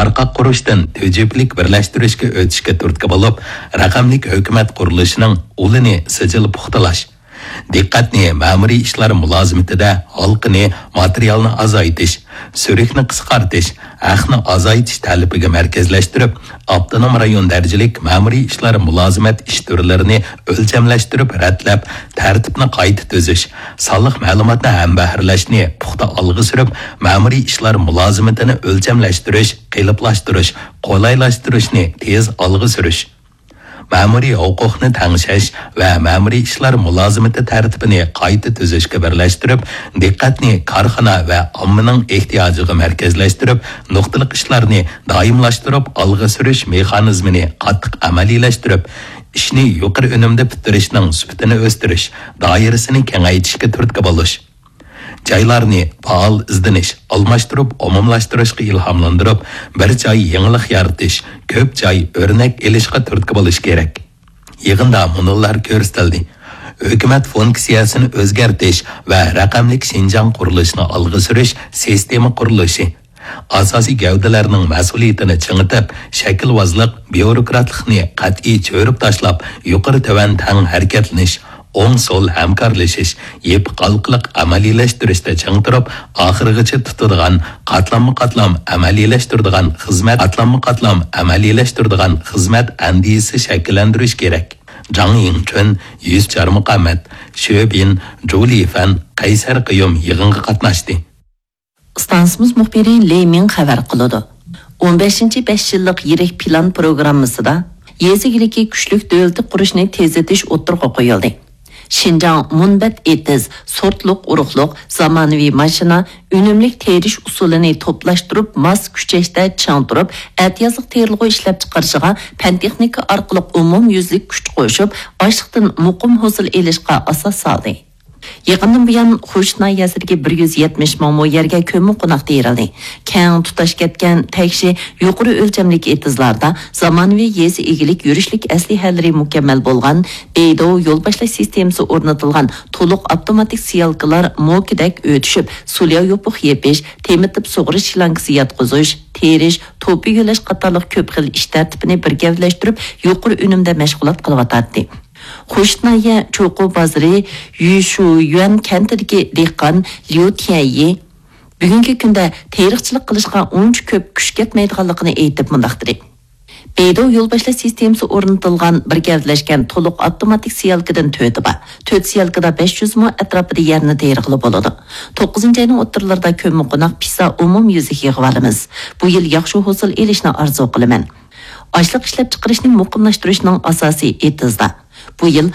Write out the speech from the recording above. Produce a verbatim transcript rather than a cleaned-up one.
تارقاق قۇرۇشتىن تۈجۈپىلىك بىرلەشتۈرۈشكە ئۆتۈشكە تۈرتكە بولۇپ، رەقەملىك ھۆكۈمەت قۇرۇلۇشىنىڭ ئۇلىنى سىجىل پۇختىلاش، دىققەتنى مەمۇرىي ئىشلار مۇلازىمىتىدە ھالقىنى، ماتېرىيالنى ئازايتىش، سۈرۈكنى قىسقارتىش، ھەقنى ئازايتىش تەلىپىگە مەركەزلەشتۈرۈپ، ئاپتونوم رايون دەرىجىلىك مەمۇرىي ئىشلار مۇلازىمەت ئىش تۈرلىرىنى ئۆلچەملەشتۈرۈپ رەتلەپ، تەرتىپنى قايتا تۈزۈش، سانلىق مەلۇماتنى ھەمبەھىرلەشنى پۇختا ئالغا سۈرۈپ، مەمۇرىي ئىشلار مۇلازىمىتىنى ئۆلچەملەشتۈرۈش، قېلىپلاشتۇرۇش، قولايلاشتۇرۇشنى تېز ئالغا سۈرۈش. مەمۇرىي ھوقۇقنى تەڭشەش ۋە مەمۇرىي ئىشلار مۇلازىمىتى تەرتىپىنى قايتا تۈزۈشكە بىرلەشتۈرۈپ، دىققەتنى كارخانا ۋە ئاممىنىڭ ئېھتىياجىغا مەركەزلەشتۈرۈپ، نۇقتىلىق ئىشلارنى دائىملاشتۇرۇپ ئالغا سۈرۈش مېخانىزمىنى قاتتىق ئەمەلىيلەشتۈرۈپ، ئىشنى يۇقىرى ئۈنۈمدە پۈتتۈرۈشنىڭ سۈپىتىنى ئۆستۈرۈش، دائىرىسىنى كېڭەيتىشكە تۈرتكە بولۇش. جايلارنى پائال ئىزدىنىش، ئالماشتۇرۇپ، ئومۇملاشتۇرۇشقا ئىلھاملاندۇرۇپ، بىر جاي يېڭىلىق يارىتىش، كۆپ جاي ئۆرنەك ئېلىشقا تۈرتكە بولۇش كېرەك. يىغىندا مۇنۇلار كۆرسىتىلدى: ھۆكۈمەت فۇنكسىيەسىنى ئۆزگەرتىش ۋە رەقەملىك شىنجاڭ قۇرۇلۇشىنى ئالغا سۈرۈش سىستېما قۇرۇلۇشى، ئاساسىي گەۋدىلەرنىڭ مەسئۇلىيىتىنى چىڭىتىپ، شەكىلۋازلىق، بيۇروكراتلىقنى قەتئىي چۆرۈپ تاشلاپ، يۇقىرى تۆۋەن تەڭ ھەرىكەتلىنىش، ئوڭ سول ھەمكارلىشىش، يېپىق ھالقىلىق ئەمەلىيلەشتۈرۈشتە چىڭ تۇرۇپ، ئاخىرغىچە تۇتىدىغان، قاتلاممۇ قاتلام ئەمەلىيلەشتۈرىدىغان خىزمەت، قاتلاممۇ قاتلام ئەمەلىيلەشتۈرىدىغان خىزمەت ئەندىزىسى شەكىللەندۈرۈش كېرەك. جاڭ يىڭچۈن، يۈسۈپ چارمۇقەمەت، شۆبىن، جۇ لىفەن، قەيسەر قىيۇم يىغىنغا قاتناشتى. ئىستانسىمىز مۇخبىرى لېي مىڭ خەۋەر قىلىدۇ. ئون بەشىنچى بەش يىللىق يىرىك پىلان پروگراممىسىدا يېزا ئىگىلىكى كۈچلۈك دۆلىتى قۇرۇشنى تېزلىتىش ئوتتۇرىغا قويۇلدى. شىنجاڭ مۇنبەت ئېتىز، سورتلۇق ئۇرۇقلۇق، زامانىۋى ماشىنا، ئۈنۈملۈك تېرىش ئۇسۇلىنى توپلاشتۇرۇپ، ماس كۈچەشتە چىڭ تۇرۇپ، ئەتىيازلىق تېرىلغۇ ئىشلەپچىقىرىشىغا پەن-تېخنىكا ئارقىلىق ئومۇميۈزلۈك كۈچ قوشۇپ، ئاشلىقتىن مۇقىم ھوسۇل ئېلىشقا ئاساس سالدى. يېقىندىن بۇيان، خوش ناھىيەسىدىكى بىر يۈز يەتمىش مىڭ مو يەرگە كۆممىقوناق تېرىلدى. كەڭ تۇتاش كەتكەن تەكشى يۇقىرى ئۆلچەملىك ئېتىزلاردا زامانىۋى يېزا ئىگىلىك يۈرۈشلۈك ئەسلىھەلىرى مۇكەممەل بولغان، بەيدۇ يول باشلاش سىستېمىسى ئورنىتىلغان تولۇق ئاپتوماتىك سېيالكىلار موكىدەك ئۆتۈشۈپ، سۇليا يوپۇق يېپىش، تېمىتىپ سۇغىرىش شلانكىسى ياتقۇزۇش، تېرىش، توپا يۆلەش قاتارلىق كۆپ خىل ئىش تەرتىپىنى بىر گەۋدىلەشتۈرۈپ، يۇقىرى ئۈنۈمدە مەشغۇلات قىلىۋاتاتتى. خوش ناھىيە چوقۇ بازىرى يۈشۈيۈەن كەنتىدىكى دېھقان ليۇ تيەنيى بۈگۈنكى كۈندە تېرىقچىلىق قىلىشقا ئۇنچە كۆپ كۈچ كەتمەيدىغانلىقىنى ئېيتىپ مۇنداق دېدى: بەيدۇ يول باشلاش سىستېمىسى ئورنىتىلغان بىر گەۋدىلەشكەن تولۇق ئاپتوماتىك سېيالكىدىن تۆتى بار. تۆت سېيالكىدا بەش يۈز مو ئەتراپىدا يەرنى تېرىغىلى بولىدۇ. توققۇزىنچى ئاينىڭ ئوتتۇرىلىرىدا كۆممىقوناق پىسا ئومۇميۈزلۈك يىغىۋالىمىز. بۇ يىل ياخشى ھوسۇل ئېلىشنى ئارزۇ قىلىمەن. ئاشلىق ئىشلەپچىقىرىشنى مۇقىملاشتۇرۇشنىڭ ئاساسى ئېتىزدا. بۇ يىل